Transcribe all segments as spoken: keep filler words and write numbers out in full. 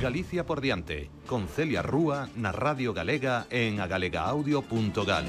Galicia por diante, con Celia Rúa na Radio Galega en agalegaaudio punto gal.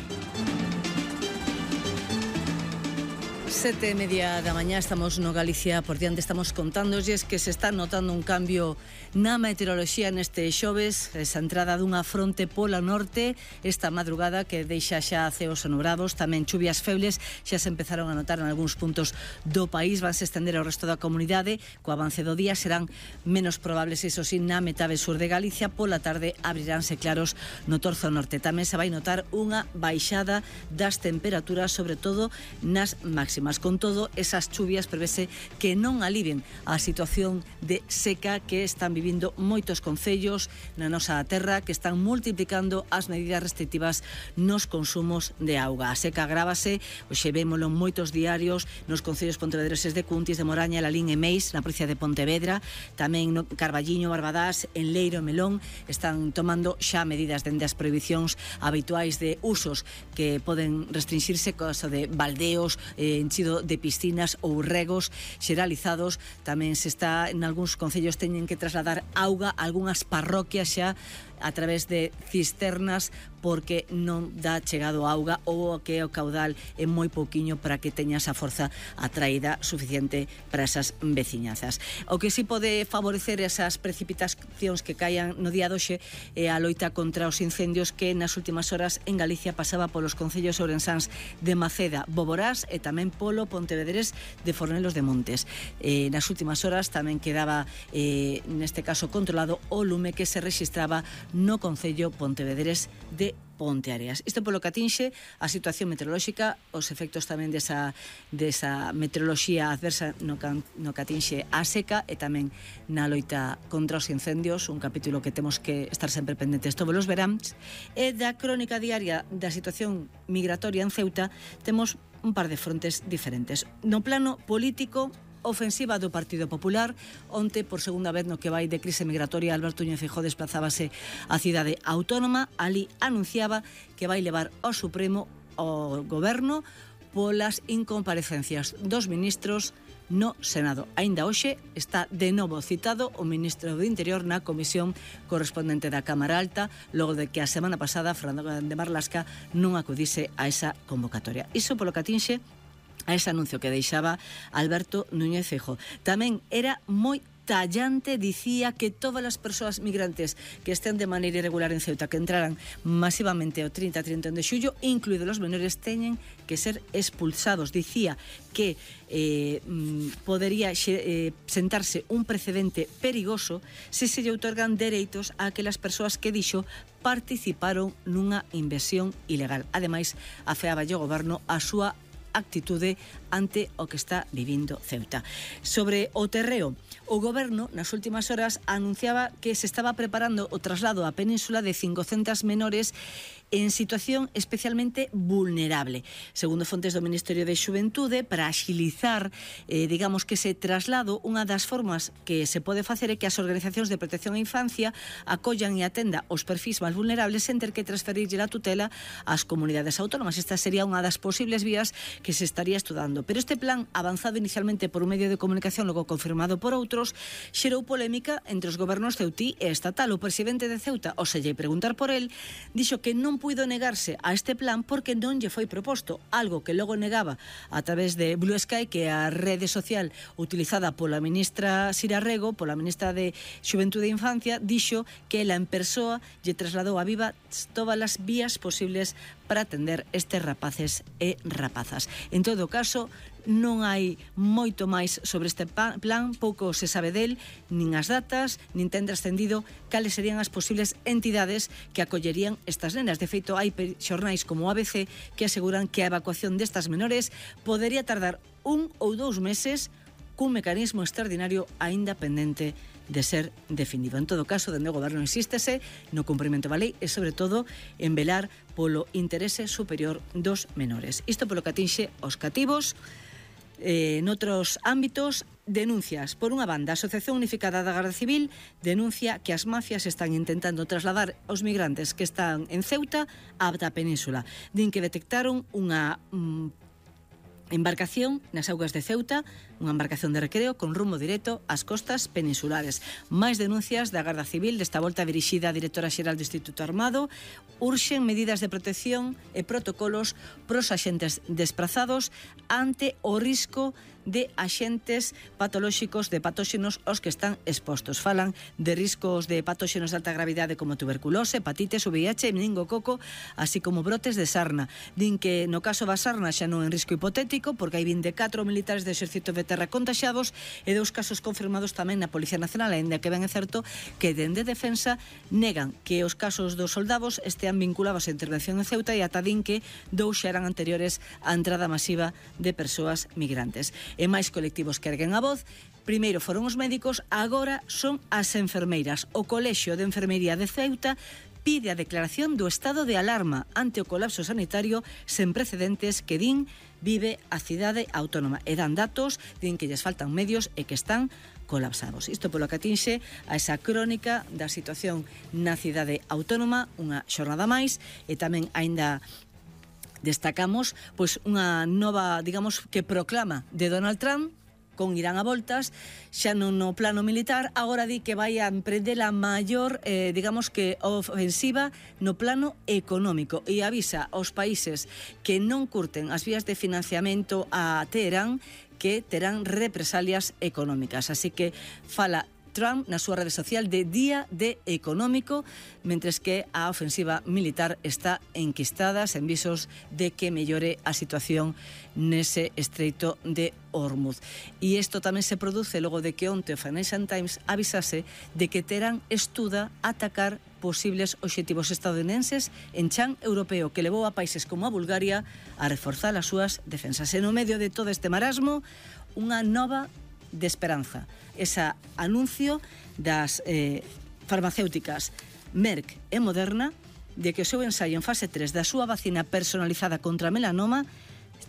Sete e media da mañá, estamos no Galicia por diante, estamos contándolles que se está notando un cambio na meteoroloxía neste xoves, esa entrada dunha fronte pola norte esta madrugada que deixa xa ceos sonobrados, tamén chuvias febles xa se empezaron a notar en algúns puntos do país, vanse estender ao resto da comunidade, co avance do día serán menos probables, iso sí, na metade sur de Galicia, pola tarde abriránse claros no torzo norte, tamén se vai notar unha baixada das temperaturas, sobre todo nas máximas. Con todo, esas chuvias prevese que non alivien a situación de seca que están vivindo moitos concellos na nosa terra, que están multiplicando as medidas restrictivas nos consumos de auga. A seca agrávase, hoxe vémolo en moitos diarios, nos concellos pontevedreses de Cuntis, de Moraña, Lalín e Meis, na provincia de Pontevedra, tamén no Carballiño, Barbadás, en Leiro e Melón, están tomando xa medidas dende as prohibicións habituais de usos que poden restringirse, cosa de baldeos, eh, enchido de piscinas ou regos xeralizados. Tamén se está, en algúns concellos teñen que trasladar auga a algunhas parroquias xa a través de cisternas porque non dá chegado auga ou que o caudal é moi pouquiño para que teña esa forza atraída suficiente para esas veciñazas. O que si pode favorecer esas precipitacións que caian no día doxe é a loita contra os incendios que nas últimas horas en Galicia pasaba polos concellos ourensáns de Maceda, Boborás e tamén polo Pontevedrés de Fornelos de Montes. Eh, nas últimas horas tamén quedaba eh, neste caso controlado o lume que se rexistraba no concello pontevedrés de Ponteareas. Isto polo que atinxe a situación meteorolóxica, os efectos tamén desa, desa meteoroloxía adversa no, can, no que atinxe a seca e tamén na loita contra os incendios, un capítulo que temos que estar sempre pendentes todos os veráns, e da crónica diaria da situación migratoria en Ceuta temos un par de frontes diferentes. No plano político, ofensiva do Partido Popular. Onte, por segunda vez no que vai de crise migratoria, Alberto Núñez Feijóo desplazábase á cidade autónoma. Ali anunciaba que vai levar ao Supremo ao Goberno polas incomparecencias dos ministros no Senado. Aínda hoxe está de novo citado o ministro do Interior na comisión correspondente da Cámara Alta, logo de que a semana pasada Fernando de Marlasca non acudise a esa convocatoria. Iso polo que atinxe a ese anuncio que deixaba Alberto Núñez Feijóo. Tamén era moi tallante, dicía que todas as persoas migrantes que estén de maneira irregular en Ceuta, que entraran masivamente o trinta a trinta e un de xullo, incluídos os menores, teñen que ser expulsados. Dicía que eh, podería eh, sentarse un precedente perigoso se se lle outorgan dereitos a aquelas persoas que, dixo, participaron nunha inversión ilegal. Ademais, afeaba o goberno a súa actitude ante o que está vivindo Ceuta. Sobre o terreo, o goberno nas últimas horas anunciaba que se estaba preparando o traslado á península de cincocentas menores en situación especialmente vulnerable. Segundo fontes do Ministerio de Xuventude, para axilizar, eh, digamos que ese traslado, unha das formas que se pode facer é que as organizacións de protección á infancia acollan e atenda os perfis máis vulnerables sen ter que transferirlle a tutela ás comunidades autónomas. Esta sería unha das posibles vías que se estaría estudando. Pero este plan, avanzado inicialmente por un medio de comunicación, logo confirmado por outros, xerou polémica entre os gobernos ceutí e estatal. O presidente de Ceuta, ao se lle preguntar por el, dixo que non puido negarse a este plan porque non lle foi proposto, algo que logo negaba a través de Blue Sky, que é a rede social utilizada pola ministra Sira Rego, pola ministra de Xuventude e Infancia, dixo que ela en persoa lle trasladou a Viva todas as vías posibles para atender estes rapaces e rapazas. En todo caso, non hai moito máis sobre este plan, pouco se sabe del, nin as datas, nin ten trascendido cales serían as posibles entidades que acollerían estas nenas. De feito, hai xornais como o A B C que aseguran que a evacuación destas menores podería tardar un ou dous meses cun mecanismo extraordinario aínda pendente de ser definido. En todo caso, dende o goberno insístese no cumprimento da lei e, sobre todo, en velar polo interese superior dos menores. Isto polo que atinxe os cativos. Eh, noutros ámbitos, denuncias. Por unha banda, a Asociación Unificada da Garda Civil denuncia que as mafias están intentando trasladar os migrantes que están en Ceuta á da península. Din que detectaron unha mm, Embarcación nas augas de Ceuta, unha embarcación de recreo con rumbo directo ás costas peninsulares. Máis denuncias da Garda Civil, desta volta dirixida á Directora Xeral do Instituto Armado. Urxen medidas de protección e protocolos pros axentes desprazados ante o risco de axentes patolóxicos de patóxenos aos que están expostos. Falan de riscos de patóxenos de alta gravidade como tuberculose, hepatitis, V I H, meningococo, así como brotes de sarna. Din que no caso da sarna xa non en risco hipotético, porque hai vinte e catro militares do Exército de Terra contaxados e dous casos confirmados tamén na Policía Nacional, aínda que ben é certo que dende Defensa negan que os casos dos soldados estean vinculados á intervención en Ceuta e ata din que dous xa eran anteriores á entrada masiva de persoas migrantes. E máis colectivos que erguen a voz. Primeiro foron os médicos, agora son as enfermeiras. O Colexio de Enfermería de Ceuta pide a declaración do estado de alarma ante o colapso sanitario sen precedentes que din vive a cidade autónoma. E dan datos, din que lles faltan medios e que están colapsados. Isto polo que atinxe a esa crónica da situación na cidade autónoma, unha xornada máis, e tamén aínda destacamos pois unha nova, digamos, que proclama de Donald Trump con Irán a voltas, xa non no plano militar, agora di que vai a emprender a maior, eh, digamos que ofensiva no plano económico e avisa aos países que non curten as vías de financiamento a Teherán que terán represalias económicas. Así que fala Trump na súa rede social de día de económico, mentres que a ofensiva militar está enquistada sen visos de que mellore a situación nese estreito de Hormuz. E isto tamén se produce logo de que onte o Financial Times avisase de que Teherán estuda atacar posibles obxectivos estadounidenses en chan europeo, que levou a países como a Bulgaria a reforzar as súas defensas. E no medio de todo este marasmo, unha nova de esperanza. Ese anuncio das eh, farmacéuticas Merck e Moderna de que o seu ensaio en fase tres da súa vacina personalizada contra melanoma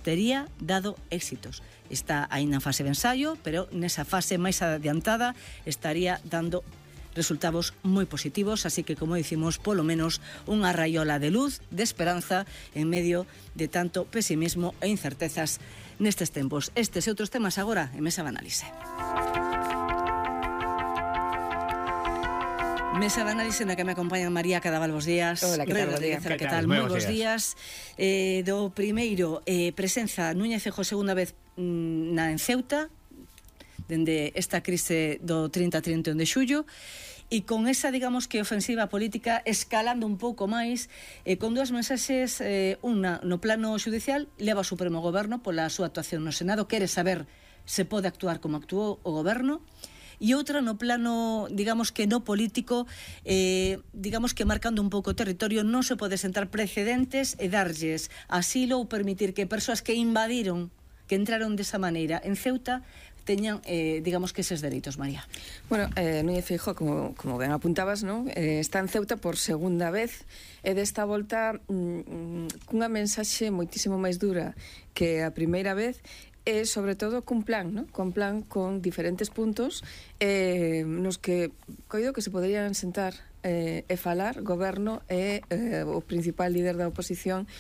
tería dado éxitos. Está aínda en fase de ensaio, pero nesa fase máis adiantada estaría dando resultados moi positivos, así que, como dicimos, polo menos unha raiola de luz, de esperanza, en medio de tanto pesimismo e incertezas nestes tempos. Estes e outros temas agora en Mesa de Análise. Mesa de Análise na que me acompañan María Cadaval, bos días. Hola, que tal, bos días. Que tal? Moi bos días. Eh, do primeiro, eh, presenza Núñez Feijóo segunda vez mm, na en Ceuta, dende esta crise do trinta a trinta e un de xullo, e con esa, digamos, que ofensiva política escalando un pouco máis, eh, con dúas mensaxes, eh, unha no plano judicial, leva o Supremo Goberno pola súa actuación no Senado, quere saber se pode actuar como actuou o Goberno, e outra no plano, digamos que no político, eh, digamos que marcando un pouco o territorio, non se pode sentar precedentes e darlles asilo ou permitir que persoas que invadiron, que entraron desa maneira en Ceuta, teñan, eh, digamos que eses dereitos, María. Bueno, eh, Núñez Feijóo, como, como ben apuntabas, ¿no? eh, está en Ceuta por segunda vez e desta volta mm, cunha mensaxe moitísimo máis dura que a primeira vez, e sobre todo cun plan, ¿no? Con plan con diferentes puntos eh, nos que coido que se poderían sentar eh, e falar goberno e eh, o principal líder da oposición,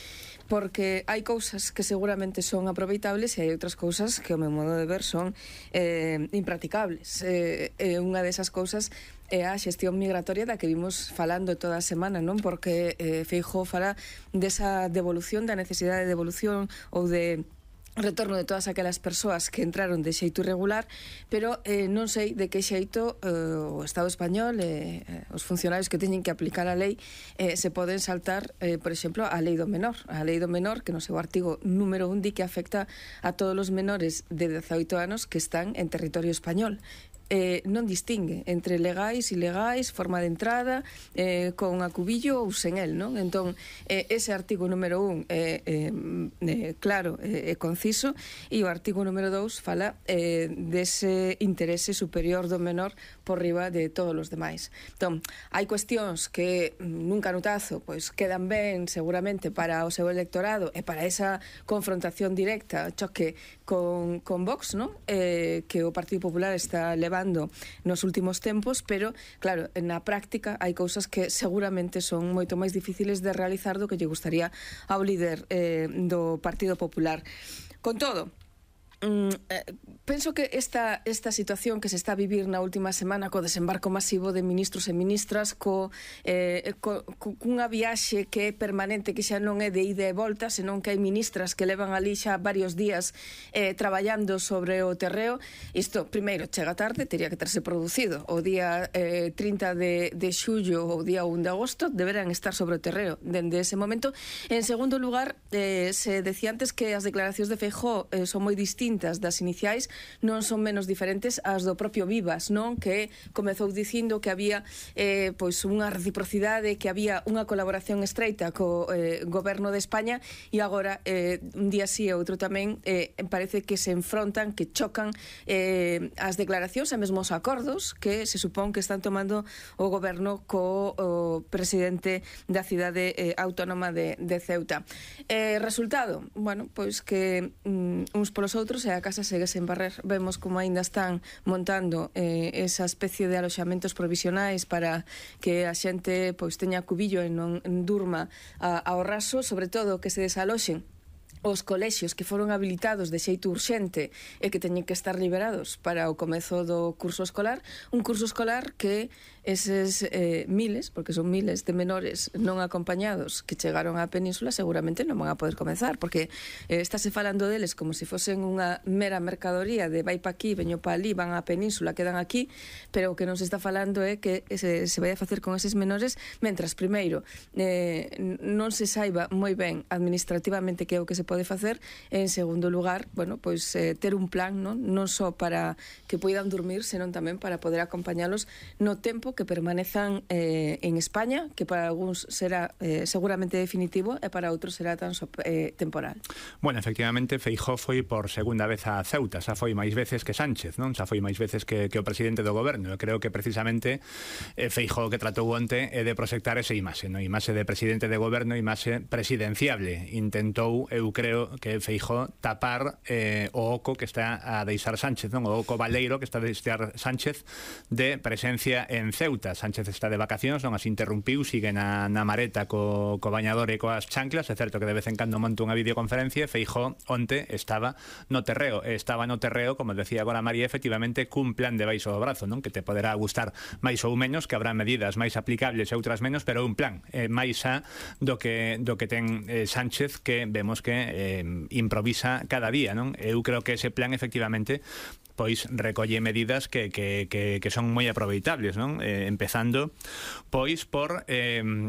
porque hai cousas que seguramente son aproveitables e hai outras cousas que, ao meu modo de ver, son eh, impracticables. Eh, eh, unha desas cousas é a xestión migratoria da que vimos falando toda a semana, non? Porque eh, Feijóo fala desa devolución, da necesidade de devolución ou de retorno de todas aquelas persoas que entraron de xeito irregular, pero eh, non sei de que xeito eh, o Estado español e eh, os funcionarios que teñen que aplicar a lei eh, se poden saltar, eh, por exemplo, a lei do menor. A lei do menor, que no seu artigo número un di que afecta a todos os menores de dezaoito anos que están en territorio español. Eh, non distingue entre legais, ilegais, forma de entrada, eh, con acubillo ou sen el, non? Entón, eh, ese artigo número un é eh, eh, claro e eh, conciso, e o artigo número dous fala eh, dese interese superior do menor por riba de todos os demais. Entón, hai cuestións que nunca notazo, pois quedan ben seguramente para o seu electorado e para esa confrontación directa, choque con, con Vox, non? Eh, que o Partido Popular está levando levando nos últimos tempos, pero, claro, na práctica hai cousas que seguramente son moito máis difíciles de realizar do que lle gustaría ao líder eh, do Partido Popular. Con todo, Mm, eh, penso que esta, esta situación que se está a vivir na última semana co desembarco masivo de ministros e ministras, co, eh, co, co cunha viaxe que é permanente, que xa non é de ida e volta, senón que hai ministras que levan ali xa varios días eh, traballando sobre o terreo. Isto, primeiro, chega tarde, teria que terse producido o día eh, trinta de, de xullo ou o día un de agosto, deberán estar sobre o terreo dende ese momento. En segundo lugar, eh, se decía antes que as declaracións de Feijóo eh, son moi distintas das iniciais, non son menos diferentes as do propio Vivas, non? Que comezou dicindo que había eh, pois unha reciprocidade, que había unha colaboración estreita co eh, goberno de España, e agora eh, un día sí e outro tamén eh, parece que se enfrontan, que chocan eh, as declaracións e mesmo os acordos que se supón que están tomando o goberno co o presidente da cidade eh, autónoma de, de Ceuta. Eh, resultado, bueno, pois que mm, uns polos outros e a casa segue sen barrer. Vemos como aínda están montando eh, esa especie de aloxamentos provisionais para que a xente pois teña cubillo e non durma a, ao raso, sobre todo que se desaloxen os colexios que foron habilitados de xeito urxente e que teñen que estar liberados para o comezo do curso escolar, un curso escolar que eses eh, miles, porque son miles de menores non acompañados que chegaron á península, seguramente non van a poder comezar, porque eh, estáse falando deles como se fosen unha mera mercadoría de vai pa aquí, veño pa ali, van á península, quedan aquí, pero o que non se está falando é que se, se vai a facer con eses menores, mentras, primeiro, eh, non se saiba moi ben administrativamente que é o que se pode facer, e en segundo lugar, bueno, pois eh, ter un plan, non, non só para que poidan dormir, senón tamén para poder acompañalos no tempo que permanezan eh, en España, que para algúns será eh, seguramente definitivo e para outros será tan so, eh, temporal. Bueno, efectivamente, Feijóo foi por segunda vez a Ceuta, xa foi máis veces que Sánchez, non? Xa foi máis veces que, que o presidente do goberno. Eu creo que precisamente eh, Feijóo que tratou onte é de proxectar ese imaxe, non? Imaxe de presidente de goberno, imaxe presidenciable. Intentou, eu creo que Feijóo tapar eh, o oco que está a deixar Sánchez, non? O oco baleiro que está a deixar Sánchez de presencia en Ceuta. Sánchez está de vacacións, non as interrumpiu, sigue na, na mareta co, co bañador e coas chanclas. É certo que de vez en cando monta unha videoconferencia. Feijóo onte estaba no terreo, estaba no terreo, como decía agora María, efectivamente cun plan de baixo do brazo, non? Que te poderá gustar máis ou menos, que habrá medidas máis aplicables e outras menos, pero un plan eh, máis xa do que, do que ten eh, Sánchez, que vemos que eh, improvisa cada día, non? Eu creo que ese plan efectivamente pois recolle medidas que, que, que, que son moi aproveitables, non? Eh, empezando pois por eh,